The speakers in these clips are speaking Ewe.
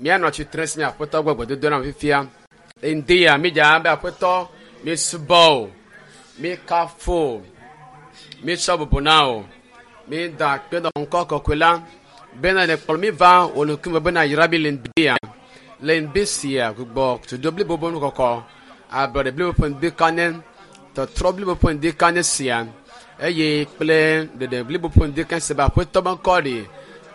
Míanɔ tsitre si Aƒetɔ gbɔ gbedodo na fifia. Ŋdi ya mídza be Aƒetɔ mísubɔ o, míkafu o, mítsɔ bubu na o, mída akpe na ŋkɔ kɔkɔe la bena le kplɔ mí va wò ŋkume bena yra mí le ŋdi ya. Le ŋdi sia gbugbɔ tudo blibo be nukɔkɔ, ablɔɖe blibo ƒe ŋdi ka nye, tɔtrɔ blibo ƒe ŋdi ka nye sia eye kple ɖeɖe blibo ƒe ŋdi ka sia be Aƒetɔ be ŋkɔ ɖi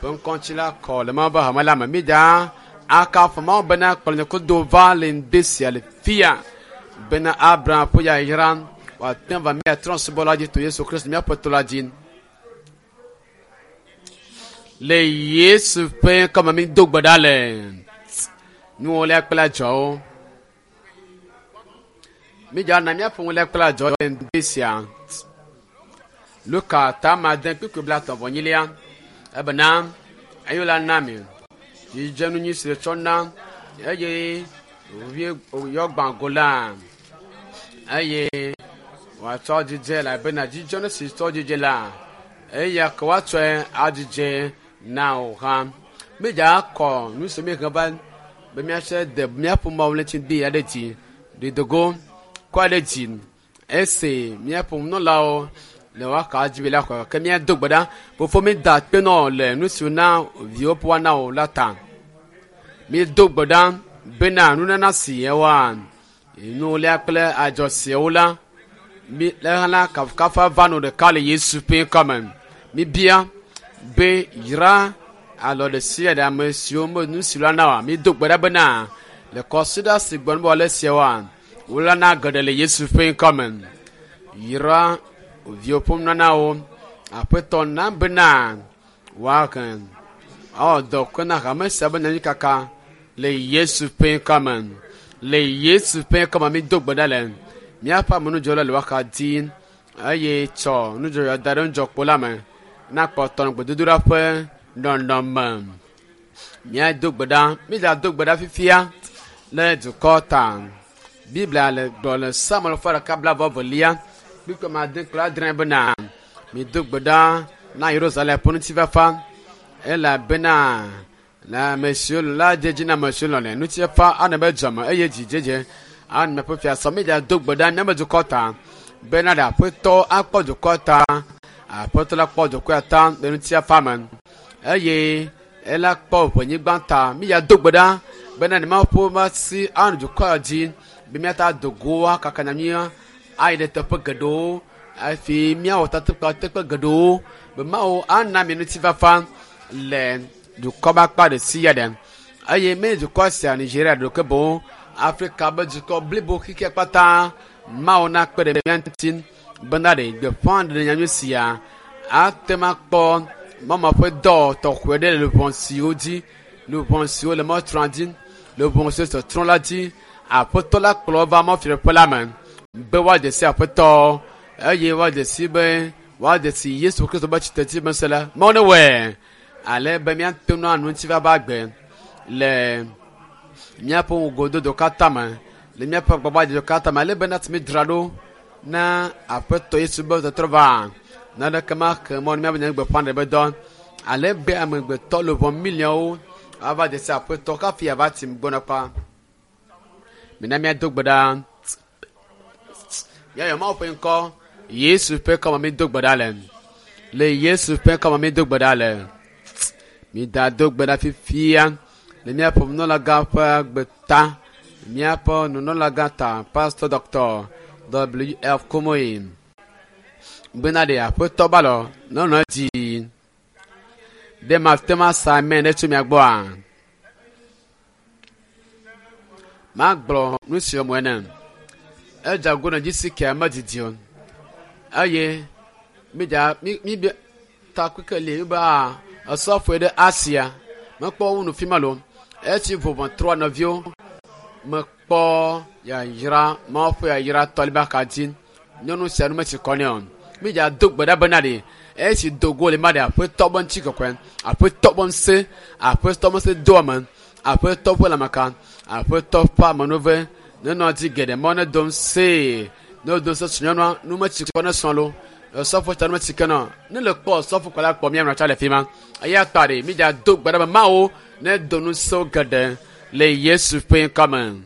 ƒe ŋkɔ ŋuti la kɔ le Mawu be hame la me. Mídza akafu Mawu bena kplɔ nye kodo va le ŋdi sia le fia bena Abraham ƒe yayra wòate va mía trɔ̃subɔla dzi to Yesu Kristo míaƒe Aƒetɔ la dzi. Le Yesu ƒe ŋkɔme mi do gbe ɖa le nuwɔlia kple adzɔwo. Mídza na míaƒe nuwɔlia kple adzɔwo le ŋdi sia. Luka ta ma de kpukpui blatɔ̃ vɔ enyilia ebena eyo la na mi dzidzenu nyui si tsɔ na eye wòvi yɔ gbã go la eye wòatsɔ dzidze elabena dzidzenu si tsɔ dzidze la eya ke woatsɔe adzidze na wò hã. Mídza kɔ nu si míhe va be míatsɔ de míaƒe Mawu ŋuti bi aɖe dzi ɖidogo kɔ aɖe dzi esi míaƒe nunɔlawo le woaka dzi be la xɔ ke míado gbe ɖa fofo mída akpe nɔ le nu si na viwo ƒe woana wò la ta. Mído gbe ɖa bena nunana si yewoa nuwolia kple adzɔ siawo la mi le hã la kafukafu va nɔ ɖeka le Yesu ƒe ŋkɔme. Míbia be yra alɔ ɖe sia ɖe ame siwo me nu si la na wa. Mído gbe ɖa bena le kɔsiɖa si gbɔna be wòale siawoa wola na geɖe le Yesu ƒe ŋkɔme. Yra viwo ƒe nunanawo Aƒetɔ na bena woahe awɔ dɔ kɔ na hame sia be nyanyui kaka le Yesu ƒe ŋkɔme. Le Yesu ƒe ŋkɔme mído gbe ɖa le míaƒe amenudzɔla le woaxa dzi eye tsɔ nudzɔdzɔ da ɖe nudzɔkpo la me na kpɔtɔ nɔ gbedodoɖa ƒe nɔnɔme. Míado gbe ɖa, mídzado gbe ɖa fifia le dukɔ ta. Biblia le gblɔ le Samuel ƒe ɖeka blaeve evelia kpukpui ame ade kple adre bena mido gbe ɖa na Yerusalem ƒe ŋutifafa elabena le ame siwo la dze dzi na ame siwo lɔ̃nɛ. Ŋutifafa anɔ be dzɔme eye dzidzedze anɔ ƒe fiasɔ. Mídzado gbe ɖa míaƒe dukɔ ta bena ɖe Aƒetɔ akpɔ dukɔ ta. Aƒetɔ la kpɔ dukɔa ta le ŋutifafa me eye ela kpɔ ʋenyigba ta. Mídzado gbe ɖa bena ne Mawu ƒe asi anɔ dukɔa dzi be míata do go akaka nyanyuia ayi ɖe teƒe geɖewo hafi míawɔ takpekpe teƒe geɖewo be Mawu ana mi ŋutifafa le dukɔ ƒe akpa ɖe sia ɖe eye menye dukɔ sia Nigeria ɖo ke boŋ Afrika be dukɔ blibo xexea katã Mawu nakpe ɖe mía ŋuti bena ɖe gbeƒã ɖe nyanyui sia ate ŋu akpɔ mama ƒe dɔ tɔxɛ ɖe le luʋɔ siwo dzi luʋɔ siwo le mɔtrɔa dzi luʋɔ siwo tɔtrɔ la dzi Aƒetɔ la kplɔ va mɔfiaƒe la me be woadze si Aƒetɔ eye woadze si be woadze si Yesu Kristo be tsitretsi be ŋusẽ la Mawu ne wɔe ale be míate ŋu anɔ ŋutifafa agbe le míaƒe ŋgɔdodo katã me le míaƒe agbagbadzedze katã me ale be na ti mídzra ɖo na Aƒetɔ Yesu be tɔtrɔ va naneke maxe mɔ ne míaƒe nyanyui gbeƒãɖeɖe be dɔ ale be amegbetɔ luʋɔ miliɔnwo ava dze si Aƒetɔ kafi ava tim gbɔna kpa. Mina míado gbe ɖa. Míayɔ Mawu ƒe ŋkɔ. Yesu ƒe ŋkɔme mído gbe ɖa le. Le Yesu ƒe ŋkɔme mído gbe ɖa le. Mida do gbe ɖa fifia le míaƒe nunɔlagã ƒe agbe ta. Míaƒe nunɔlagã ta Pastor Dr. W. F. Kumuyi. Bena ɖe Aƒetɔ balɔ nɔnɔ edzi. Ɖe mate ŋu asa amen ɖe tso mia gbɔa? Magblɔ nu si wɔm ene. Edze ago ne dzi si kea medidi o eye mídza mí mí be takpekpe li be aa esɔfoe ɖe Asia. Mekpɔ wu nu fi ma lo. Esi vɔvɔ trɔ nɔviwo mekpɔ yayra Mawu ƒe yayra tɔliba ka dzi. Nyɔnu sia nu metsi kɔ nɛ o. Mídza do gbe ɖa bena ɖe esi do go le ma ɖe aƒetɔ be ŋuti kɔkɔe, aƒetɔ be ŋusẽ, aƒetɔ be ŋusẽ do ame, aƒetɔ ƒe lãmeka, aƒetɔ ƒe amenuve nenɔ dzi geɖe mɔ ne do ŋusẽe. Ne wodo ŋusẽ srɔ̃nyɔnua, nu metsi kɔ ne srɔ̃ lo. Osɔfo tsa nu si ke nɔ ne le kpɔ osɔfo kɔ la kpɔ mía nɔ tsa le fi ma. Eya ta ɖe mi dza do gbe ɖa be Mawu ne do ŋusẽ geɖe le Yesu ƒe ŋkɔ me.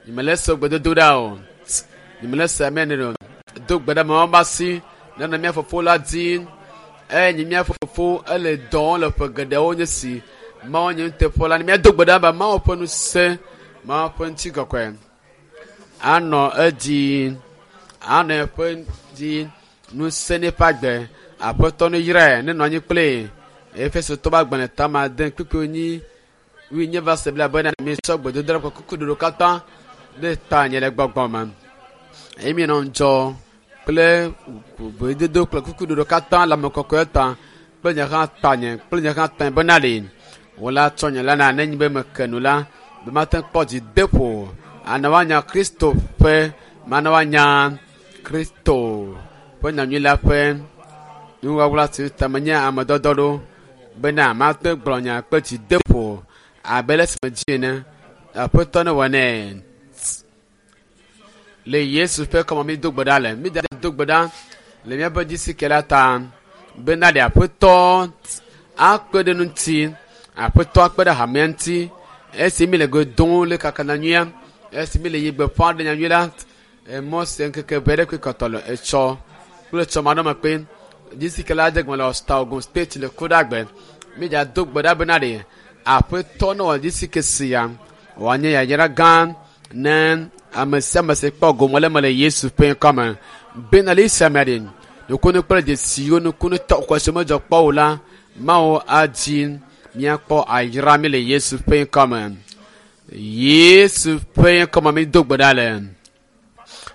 Nyemele se gbedodo ɖa o. Nyemele se amen o. Do gbe ɖa be Mawu be asi nenɔ mía fofo la dzi. Eye nye mía fofo ele dɔ wɔm le ƒe geɖewo nye si. Mawu nye nuteƒewɔla ne míado gbe ɖa be Mawu ƒe ŋusẽ, Mawu ƒe ŋutikɔkɔe anɔ edzi, anɔ eƒe dzi ŋusẽ ne eƒe agbe. Aƒetɔ ne yrae ne nɔ anyi kple Efesotɔ ƒe agbalẽ tama ade kpukpui enyi wuienyi va se bla bena mitsɔ gbedodoɖa ƒe kukuɖoɖo katã ɖe ta nye le gbɔgbɔ me. Eye mienɔ ŋudzɔ kple gbedodo kple kukuɖoɖo katã le ame kɔkɔe ta kple nye hã tanye kple nye hã tanye bena ɖe wò la tsɔ nye la na nenye be meke nu la be mate ŋu kpɔ dzideƒo ana woanya Kristo ƒe mana woanya Kristo ƒe nyanyui la ƒe nuwɔwla si ta menye ame dɔdɔ ɖo bena mate gblɔ nya kple dzideƒo abe le si medzi ene. Aƒetɔ ne wɔ nɛ. Le Yesu ƒe kɔme mi do gbe ɖa le. Mi do gbe ɖa le míaƒe dzisike la ta bena ɖe aƒetɔ akpe ɖe ŋuti, aƒetɔ akpe ɖe hamea ŋuti. Esi mi le go dom le kaka nyanyuia, esi mi le yi gbeƒã ɖe nyanyui la, emɔ se ŋkeke ʋɛ ɖe koe kɔtɔ le etsɔ kple etsɔ ma ɖe me kpe. Dzisike la dze gɔme le Osta Ogun State le Kodagbe. Mi dza do gbe ɖa bena ɖe aƒetɔ ne wɔ dzisike sia wòanye yayra gã ne ame sia ame si kpɔ gome le eme le Yesu ƒe ŋkɔ me. Bena le esia me ɖe, nukunu kple dzesiwo, nukunu tɔxɛ siwo medzɔ kpɔ o la, Mawu adzi míakpɔ ayra mí le Yesu ƒe ŋkɔ me. Yesu ƒe ŋkɔ me mído gbe ɖa le.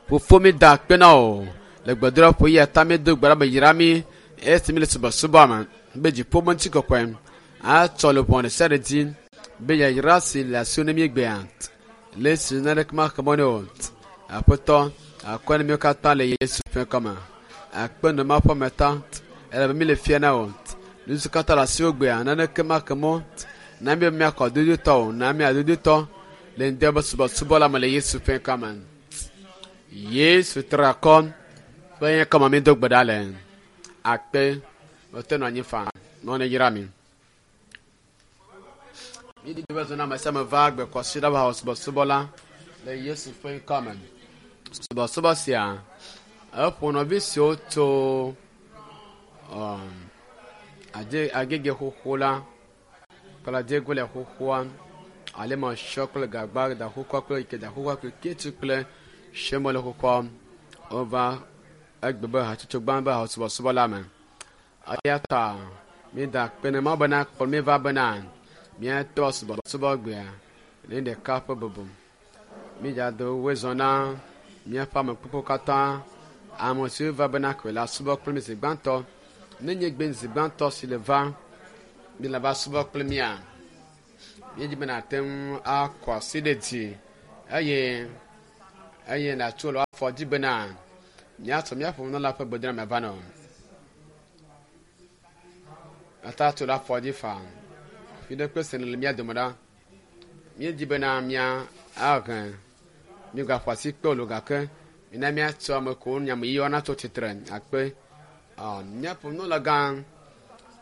Fofo mi da akpe na wò le gbedoɖaƒe ya ta míedo gbe ɖa be yra mí esi míle subɔsubɔ me be dziƒo ƒe ŋutikɔkɔe atsɔ le ʋɔ ɖe sia ɖe dzi be yayra si le asiwò ne míegbea le esi naneke maxe mɔ nɛ o. Aƒetɔ, akɔe na míwo katã le Yesu ƒe ŋkɔ me. Akpe nɔ Mawu ƒe ame ta elabe míle fia na wò. Nu siwo katã le asiwò gbea naneke maxe mɔ na mí be míaxɔ dodotɔ o. Na mí adodotɔ le ŋdɔ be subɔsubɔ la me le Yesu ƒe ŋkɔ me. Yesu tra akɔ ƒe ŋkɔ me mído gbe ɖa le. Akpe mete nɔ anyi faa. Mawu neyra mi. Mídi be zɔna ame sia ame va gbe kɔsiɖa ƒe subɔsubɔ la le Yesu ƒe ŋkɔ me. Subɔsubɔ sia eƒo nɔvi siwo tso adze agege xoxo la kple adzegole xoxoa ale me sɔ kple gagba da xoxoa kple ike da xoxoa kple ketsu kple semole xoxoa wova egbe be hatsotso gbã be subɔsubɔ la me. Eya ta míeda akpe na Mawu bena kplɔ mí va bena míatɔ subɔsubɔ gbea ne ɖeka ƒe bubu. Mídzado woe zɔ na míaƒe ame kpokpo katã ame siwo va bena koe la subɔ kple mí zi gbãtɔ. Ne nye gbe zi gbãtɔ si le va mi le va subɔ kple mía. Míedzi be nàte ŋu akɔ asi ɖe dzi eye eye nàtso le afɔ dzi bena míasɔ míaƒe nunɔla ƒe gbedoname va nɔ. Ata tso le afɔ dzi faa. Fi ɖe kple se le mía dome ɖa. Míedzi bena mía ahe mígaƒo asi kpe o gake mina míatsɔ ame kewo nyame yiyɔ natso tsitre akpe. Míaƒe nunɔlagã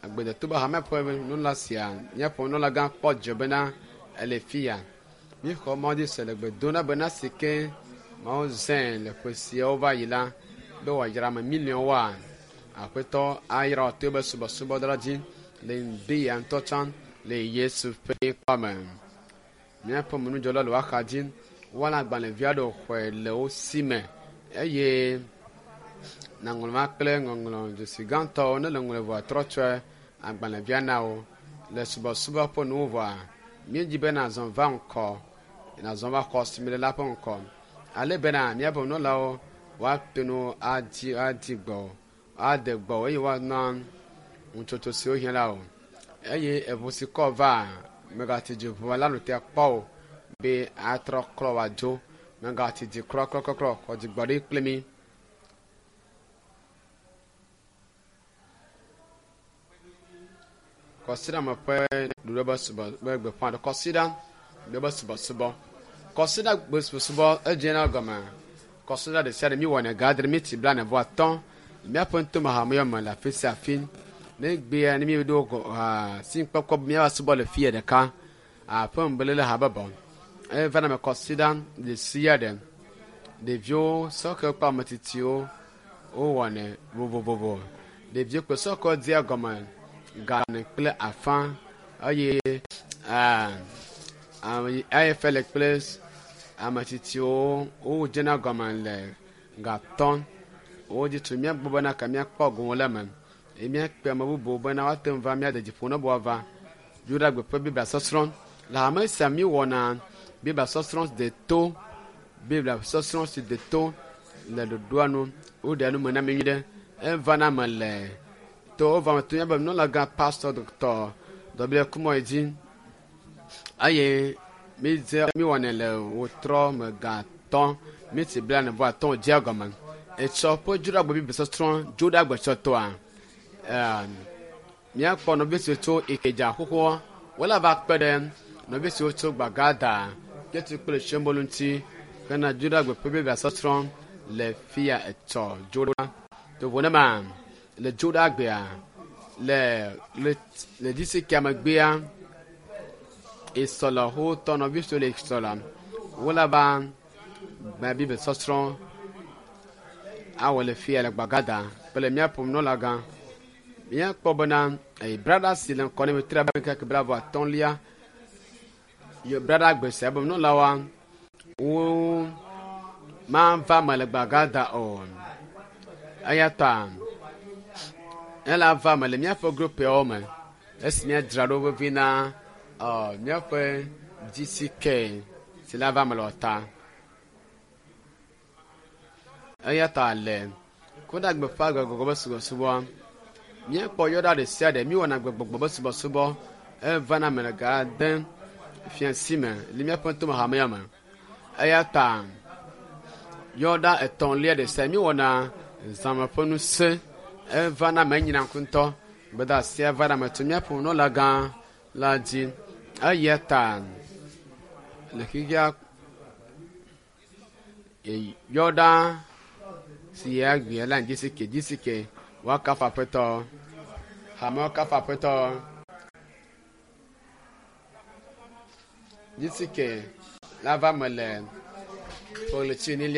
agbedeto be hame ƒe nunɔla sia míaƒe nunɔlagã kpɔ dzidzɔ bena ele fi ya. Míexɔ Mawu dzi se le gbe dom na bena si ke Mawu zãe le ƒe siawo va yi la be wòayra ame miliɔnwoa aƒetɔ ayra wò to eƒe subɔsubɔdɔ la dzi le ŋdi ya ŋutɔ tsã le Yesu ƒe ŋkɔ me. Míaƒe nudzɔla le woaxa dzi woana agbalẽvi aɖewo xɔe le wo si me eye nàŋlɔ ma kple ŋɔŋlɔ dzesi gãtɔwo ne le ŋlɔe vɔa trɔ tsɔe agbalẽvia na wo le subɔsubɔ ƒe nuwo vɔa míedzi be nàzɔ va ŋkɔ nàzɔ va xɔ si mi le la ƒe ŋkɔ ale bena míaƒe nunɔlawo woate ŋu adi adi gbɔ ade gbɔ eye woana ŋutsotso siwo hiã la o eye eʋu si kɔ va megati dzi ʋua la nu te kpɔ o be atrɔ klɔ wòadzo megati dzi klɔklɔklɔklɔ xɔ dzigbɔɖi kple mi. Kɔsiɖa me ƒe ɖoɖo be subɔ be gbeƒã ɖe kɔsiɖa ɖe be subɔsubɔ. Kɔsiɖa gbe subɔsubɔ edze na gɔme. Kɔsiɖa ɖe sia ɖe mi wɔnɛ ga adre miti blaene vɔ atɔ̃. Míaƒe ŋutome hamea me le afi sia afi. Ne gbea ne míeɖo gɔ si kpɔkpɔ be míava subɔ le fia ɖeka aƒe ŋbelele habɔbɔ. Eva na me kɔsiɖa ɖe sia ɖe. Ɖeviwo, sɔhɛwo kple ame tsitsiwo wowɔnɛ vovovovo. Ɖeviwo kple sɔhɛwo dzea gɔme ga ene kple afã eye AFL kple ame tsitsiwo wodzena gɔme le gatɔ̃. Wodzi tso mía gbɔ bena ke míakpɔ gome le eme eye míakpe ame bubuwo bena woate ŋu va míade dzi ƒo na be woava. Yuɖagbe ƒe Biblia sɔsrɔ̃. Le hame sia míewɔna Biblia sɔsrɔ̃ deto, Biblia sɔsrɔ̃ si deto le ɖoɖoa nu. Woɖea nu me na mí nyuie ɖe. Evana eme le to wova me to míabe nunɔlagã Pastor Dr. W. Kumɔyi dzi eye mídze míewɔnɛ le wotrɔ me gatɔ̃ miti blaene vɔ atɔ̃ dzea gɔme. Etsɔ ƒe Dzoɖagbe Biblia sɔsrɔ̃ Dzoɖagbe tsɔtɔa míakpɔ nɔvi siwo tso Ikeja xoxoa wole va kpe ɖe nɔvi siwo tso Gbagada, Ketu kple Shembolu ŋuti hena Dzoɖagbe ƒe Biblia sɔsrɔ̃ le fia etsɔ Dzoɖa. Tovo ne ma le Dzoɖagbea le le le distrikia megbea esɔlɔ xotɔ nɔvi siwo le esɔlɔ wole va gba Biblia sɔsrɔ̃ awɔ le fia le Gbagada kple míaƒe nunɔlagã. Míakpɔ bena brada si le ŋkɔ ne mi tre abe ŋkeke blaeve atɔ̃lia ye brada gbe sia be nunɔlawoa wo mava me le Gbagada o. Eya ta ela va me le míaƒe grupiawo me esi míadzra ɖo vevi na míaƒe GCK si la va me le ɔta. Eya ta le Kodagbe ƒe gbegbɔgbɔ be subɔsubɔ míekpɔ yɔɖa ɖe sia ɖe míewɔna gbegbɔgbɔ be subɔsubɔ evana me le ga ade fiasi me le míaƒe ŋutome hamea me. Eya ta yɔɖa etɔ̃lia ɖe sia míewɔna zãme ƒe ŋusẽ evana me enyina ŋku ŋutɔ. Gbedeasia vana me tso míaƒe nunɔlagã la dzi. Eya ta le xexea yɔɖa si ya gbea la GCK GCK woakafu aƒetɔ hamewo kafu aƒetɔ GCK la va me le ƒe ɣleti me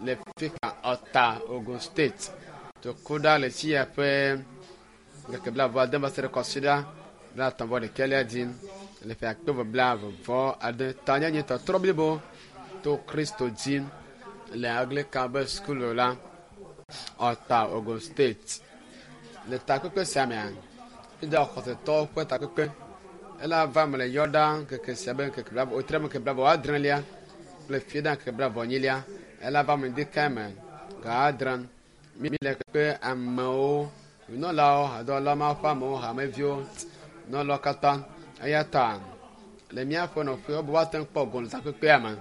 le fika Ɔta Ogun State tokuɖa le tsi ya ƒe ŋkeke blaeve ade va se ɖe kɔsiɖa blaetɔ̃ vɔ ɖekɛlia dzi le ƒe akpe eve blaeve vɔ ade tanyenye tɔtrɔ blibo to Kristo dzi le Anglican be sukulu la Ɔta Ogun State. Le takpekpe sia mea, míeda xɔsetɔwo ƒe takpekpe ela va me le yɔɖa ŋkeke sia be ŋkeke blaeve wotre ŋkeke blaeve adrelia kple fiɖa ŋkeke blaeve enyilia ela va me ɖekae me ga adre. Míle kpe amewo, nunɔlawo, hadɔwɔlawo, Mawu ƒe amewo, hameviwo, nunɔlawo katã. Eya ta le míaƒe nɔƒewo be woate ŋu kpɔ gome le takpekpea me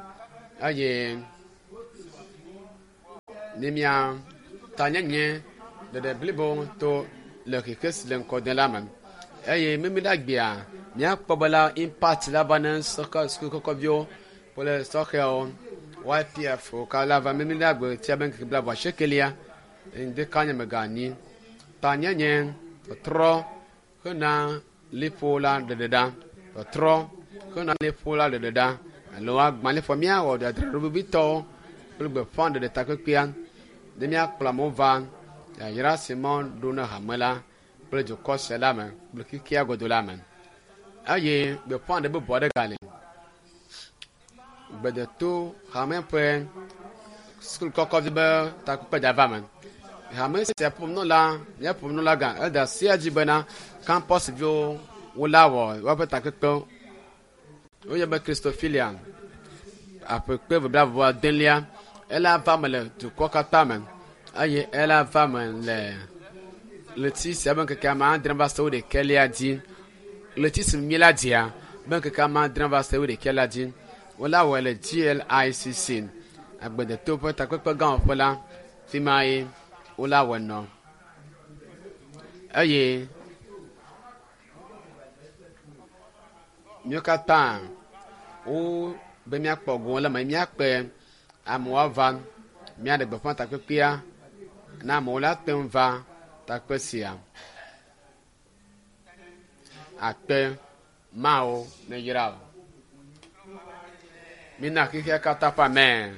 eye ne mía tanyenye ɖeɖe blibo to le xexe si le ŋkɔ dem la me. Eye mímiɖagbea míakpɔ be la impact la va ne sɔhɛ sukukɔkɔviwo kple sɔhɛwo YPF wo ka la va mímiɖagbe tia be ŋkeke blaeve asiekelia ŋdeka nye meganyi tanyenye tɔtrɔ hena liƒo la ɖeɖeɖa tɔtrɔ hena liƒo la ɖeɖeɖa alo agbalẽƒo míawɔ dzadzraɖo vevitɔwo kple gbeƒã ɖeɖe takpekpea ne míakplɔ amewo va yayra si mɔ ɖo na hame la kple dukɔ sia la me kple xexea godo la me eye gbeƒã ɖe bubu aɖe gali gbedeto hame ƒe sukulu kɔkɔvi be takpekpe da va me hame sia ƒomenɔla míaƒe ƒomenɔla gã eda sia dzi bena campus viwo wola wɔ woƒe takpekpe woyɔ be Christophilia aƒekpe blaeve adelia ela va me le dukɔ katã me eye ela va me le ɣleti sia be ŋkeke ame adre va se wo ɖekɛlia dzi ɣleti si mi la dzia be ŋkeke ame adre va se wo ɖekɛlia dzi wola wɔe le GLICC agbedeto ƒe takpekpe gãwɔƒe la fi ma ye wola wɔe nɔ eye míwo katã wo be míakpɔ gome le eme míakpe amewo ava míaɖe gbeƒã takpekpea Na amewo la te ŋu va takpe sia. Akpe Mawu neyra wò. Mina xexea katã ƒe amen.